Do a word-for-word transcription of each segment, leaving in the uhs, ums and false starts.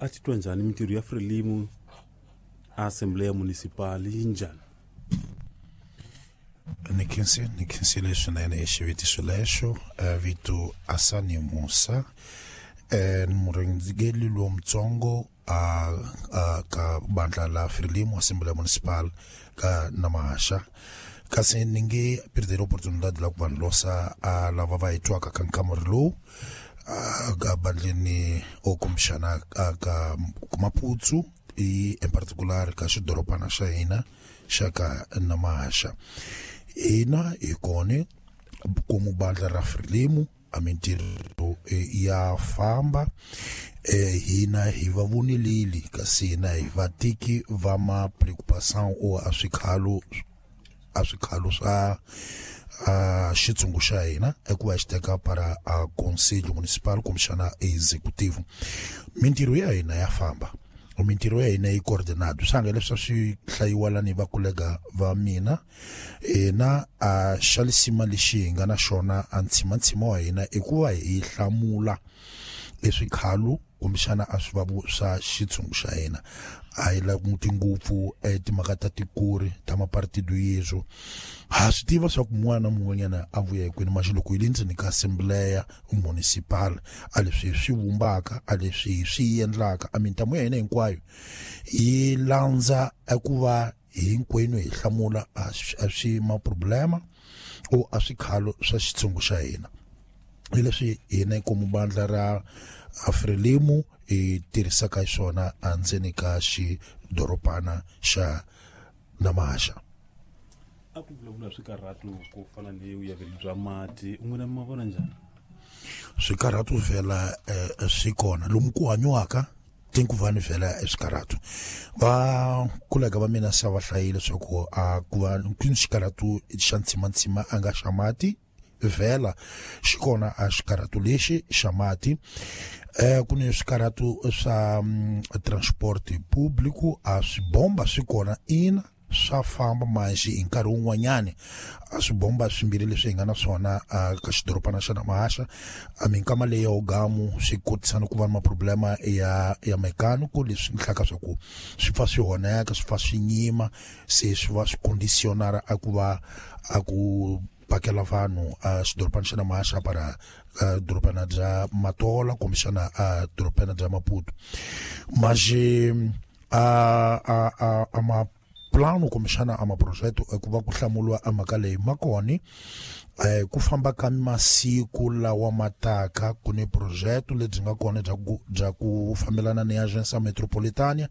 A titwa njhani mintirho ya Frelimo a Assembleia Municipal yi njhani? Ni khensile ni khensile swinene hi xivutiso lexo. Vito Asani Musa, ni murhangeri lowutsongo a a ka bandla la Frelimo Assembleia Municipal ka Namahasha, kasi ni nge perder oportunidade la ku vanhu losa a lava va hi twaka ka nkamuri lowu ka bandleni o kumbexana ka Maputo i in particular ka xidorobana xa hina xa ka Namahasha. Hina hi kona komu bandla ra Frelimo a mintirho ya famba, hina hi va voneleli kasi hina hi vatiki va ma preocupação o a swikhalo a swikhalo swa a xitshungu xa hina eku va xi teka para a conselho municipal kumbexana executivo. Mintirho ya hina ya famba, mintirho ya hina yi coordinado swi leswi swi hlayiwa lani va kolega va mina. Hina a xa lisima lexi hi nga na xona a ntshimantsima wa hina i ku va hi hlamula eswikhalo kumbexana a swivavu swa xitshungu xa hina. A hi languti ngopfu timhaka ta tikuri ta mapartido yeswo, ha swi tiva swa ku mun'wana na mun'wanyana a vuya hi kwini, maxi loko hi le ndzeni ka Assembleia Municipal a leswi hi swi vumbaka a leswi hi swi endlaka a mintamu ya hina hinkwayo yi landza eku va hinkwenu hi hlamula a swi ma problema o a swikhalo swa xitshungu xa hina. Hi leswi hina komu bandla ra Frelimo hi tirhisaka xona endzeni ka xidorobana xa Namahasha. A ku vulavula swikarhatu ku fana ni vuyaveri bya mati, n'wina ma vona njhani? Swikarhatu vhela swi kona lomu ku hanyiwaka tinkuvani vhela eswikarhatu. Va kolega va mina se va hlayile leswaku a ku va ku ni xikarhatu xa ntshimantsima a nga xa mati vhela xi kona a xikarhatu lexi xa mati. Eh ku ni swikarhatu swa transport público a swibomba swi kona ina swa famba manji hi nkarhi wun'wanyani a swibomba swimbirhi leswi hi nga na swona ka xidorobana xa Namahasha a minkama leyi ya ugamu swi kotisana ku va na maproblema ya ya mechanical leswi hlaka swa ku swi pfa swi honeka swi pfa swi nyima se swi va swi conditionara a ku va a ku pakela vanhu a xidorobana xa Namahasha para dorobana bya Matola kumbexana a dorobana bya Maputo. Mas a a a a ma plano kumbexana a maprojeto ku va ku hlamuriwa a mhaka leyi ma kona eh ku famba ka masiku lawa mataka ku ni projeto lebyi nga kona bya ku bya ku fambelana ni Agência Metropolitana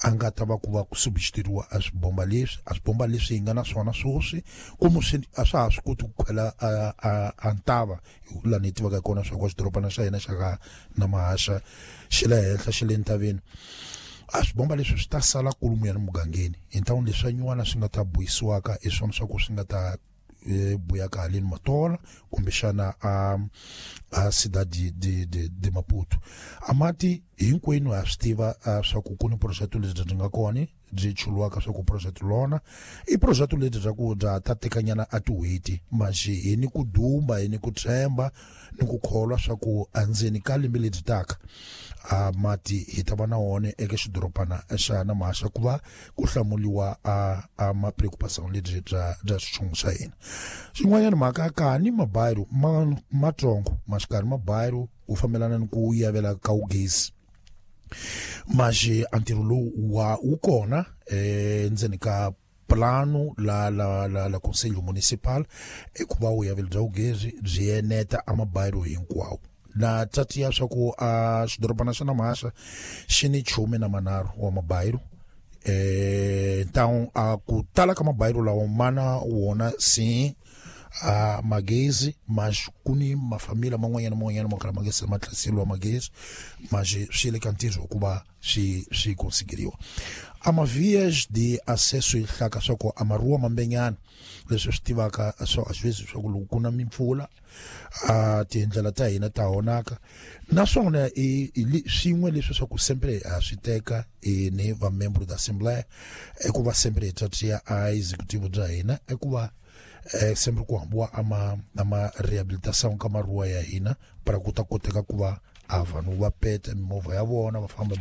a nga ta va ku va ku substituiriwa a swibomba leswi a swibomba leswi hi nga na swona sweswi ku swi a swa ha swi koti ku khwela a a a ntava laha ni tivaka kona swa ku xidorobana xa hina xa ka Namahasha xi le henhla xi le ntabeni. A swibomba leswi swi ta sala kulumu ya mugangeni hi ntawini leswi nyuwana swi nga ta buyisiwaka hi swona swa ku swi nga ta buya ka haleni Matola kumbexana a a Cidade de de de Maputo. A mati hinkwenu ha swi tiva swa ku ku ni projeto lebyi byi nga kona byi chuluwaka swa ku projeto lona i projeto lebyi bya ku bya ta tekanyana a tin'hweti manjhe hi ni ku dumba hi ni ku tshemba ni ku kholwa swa ku endzeni ka lembe lebyi taka a mati hi ta va na wona eka xidorobana xa Namahasha ku va ku hlamuriwa a a ma preocupação lebyi bya bya xitshungu xa hina. Xin'wanyana mhaka ka ni mabayiro ma matsongo maxikarhi mabayiro ku fambelana ni ku yavela ka ugezi manjhe a ntirho lowu wa wu kona eh ndzeni ka plano la la la la conselho municipal i ku va vuyaveli bya ugezi byi eneta a mabayiro hinkwawo. Na tatiya swa ku a xidorobana xa Namahasha xi ni chume na manharhu wa mabayiro eh então a ku tala ka mabayiro lawa mana wona sim a magezi mas ku ni mafamila man'wanyana man'wanyana mo kala magezi ma tlhaseliwa magezi mas swi le ka ntirho ku va swi swi konsigiriwa. A ma vias de acesso hlaka swa ku a maruwa mambenyana leswi swi tivaka swa às vezes swa ku loko ku na mimpfula a tindlela ta hina ta honaka naswona i swin'we leswi swa ku sempre ha swi teka ni va membro da assembleia i ku va sempre hi tatiya a executivo bya hina i ku va eh sempre ku hambiwa ama ama rehabilitação ka maruwa ya hina para ku ta koteka ku va a vanhu va peta mimovha ya vona va famba